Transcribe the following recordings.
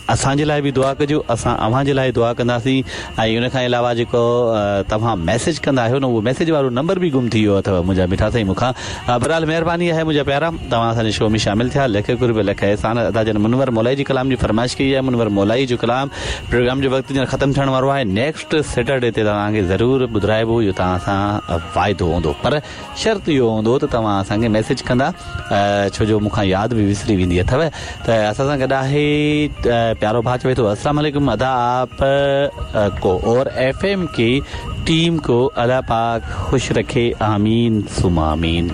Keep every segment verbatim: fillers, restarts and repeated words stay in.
اسان جي لاءِ به دعا ڪجو، اسان اوهان جي لاءِ دعا ڪنداسين. ۽ ان کان علاوه جيڪو توهان ميسيج ڪندا آهيو نه، اهو ميسيج وارو نمبر به گم ٿي ويو اٿو منهنجا مٺا سائين مون کان. بهرحال مهرباني آهي منهنجا پيارا، توهان اسان جي شو ۾ شامل ٿيا. لک قرب لک احسان. ادا جن منور مولائي جي ڪلام جي فرمائش ڪئي آهي، منور مولائي جو ڪلام پروگرام جو وقت ڄڻ ختم ٿيڻ وارو آهي. نيڪسٽ سيٽرڊي تي توهان کي ضرور ٻڌرائبو، اهو توهان سان واعدو هوندو، پر شرط اهو هوندو ته توهان اسان کي ميسيج ڪندا، ڇو جو مون کان ياد به وسري ويندي اٿو. ته اسان سان گڏ آهي پيارو ڀاءُ، چوي ٿو السلام علیکم ادا، آپ کو اور ایف ایم کی ٹیم کو الله پاڪ خوش رکي، آمين ثم آمين.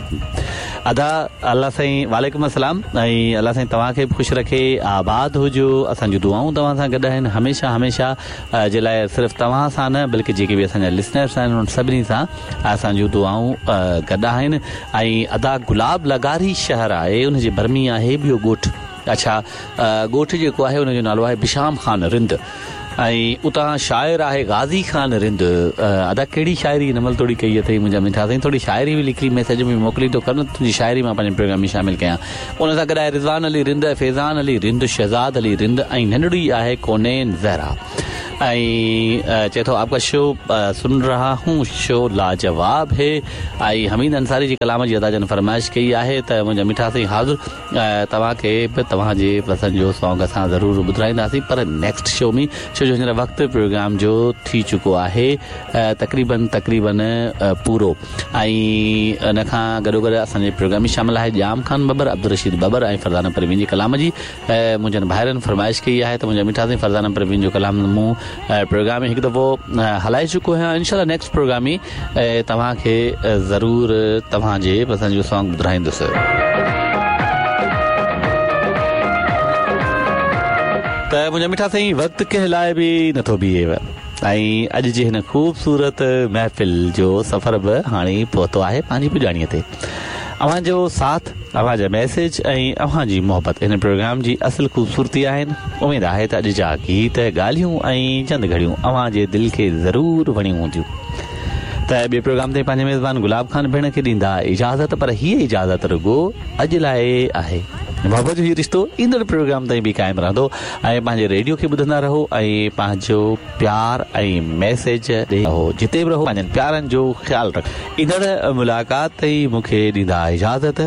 ادا الله سائين وعليڪم السلام، ۽ الله سائين توهان کي به خوش رکي، آباد هجو. اسان جون دعائون توهان سان گڏ آهن هميشه هميشه جي لاءِ، صرف توهان سان نه بلڪه جيڪي به اسان جا لسنرس آهن انهن سڀني سان اسان جون دعائون گڏ آهن. ۽ ادا گلاب لغاري شهر آهي، ان جي ڀر ۾ آهي ٻيو ڳوٺ. اڇا ڳوٺ جيڪو آهي ان جو نالو آهي بشام خان رند، ۽ اتان شاعر آهي غازي خان رند. ادا ڪهڙي شاعري هن مهل ٿوري ڪئي اٿئي منهنجا مٺا سائين، ٿوري شاعري به لکي ميسيج ۾ موڪلي ٿو ڪر نه، تنهنجي شاعري مان پنهنجي پروگرام ۾ شامل ڪيان. ان سان گڏ آهي رضوان علي رند، فيضان علي رند، شهزاد علي رند ۽ ننڍڙي آهي ڪونين زهرا. ۽ چئي ٿو آپ ڪا شو سن رها هون، شو لاجواب هي. ۽ حميد انصاري جي ڪلام جي ادا جن فرمائش ڪئي آهي ته منهنجا مٺا سائين حاضر، توهان کي به توهان جي پسند جو سانگ اسان ضرور ٻڌرائينداسين، پر نيڪسٽ شو ۾، ڇو جو هينئر وقت پروگرام جو ٿي چڪو آهي تقريبن تقريبن پورو. ۽ ان کان گڏو گڏ اسان جي پروگرام ۾ شامل آهي ڄام خان ٻٻر، عبدالرشيد ٻٻر ۽ فرزانه پروين جي ڪلام جي منهنجن ڀائرن فرمائش ڪئي آهي ته منهنجا مٺا سائين فرزانه پروين جو ڪلام مون پروگرام ۾ هڪ دفعو هلائي چڪو آهيان. انشاء الله نيڪسٽ پروگرام ۾ توهان کي ضرور توهان جي پسند جو سانگ ٻڌرائيندس. ته منهنجا مٺا سائين وقت ڪنهن لاءِ به نٿو بيهي، ۽ اڄ جي هن خوبصورت محفل جو سفر به هاڻي پهتو آهي پنهنجي پڄاڻيءَ تي. اوهان جو ساٿ، اوهان جا ميسيج ۽ اوهان جي محبت هن پروگرام جي اصل خوبصورتي آهن. اميد آهي ته اڄ جا گيت، ڳالهيون ۽ چند گهڙيون اوهان جي دل کي ضرور وڻيون هونديون. ته ٻئي پروگرام تي پنهنجي ميزبان گلاب خان ڀيڻ کي ڏيندا اجازت، پر هيءَ اجازت رڳو اڄ لاءِ آهي. محبت جو هيءُ رشتو ايندڙ پروگرام تائين به قائم رهندو. ۽ پنهنجي ريڊيو کي ٻڌندا رهو ۽ پنهنجو پيار ۽ ميسيج ڏيئي رهو، جتي به رهو پنهنجن پيارن جو خيال رکو. ايندڙ ملاقات تائين مون کي ڏيندا اجازت.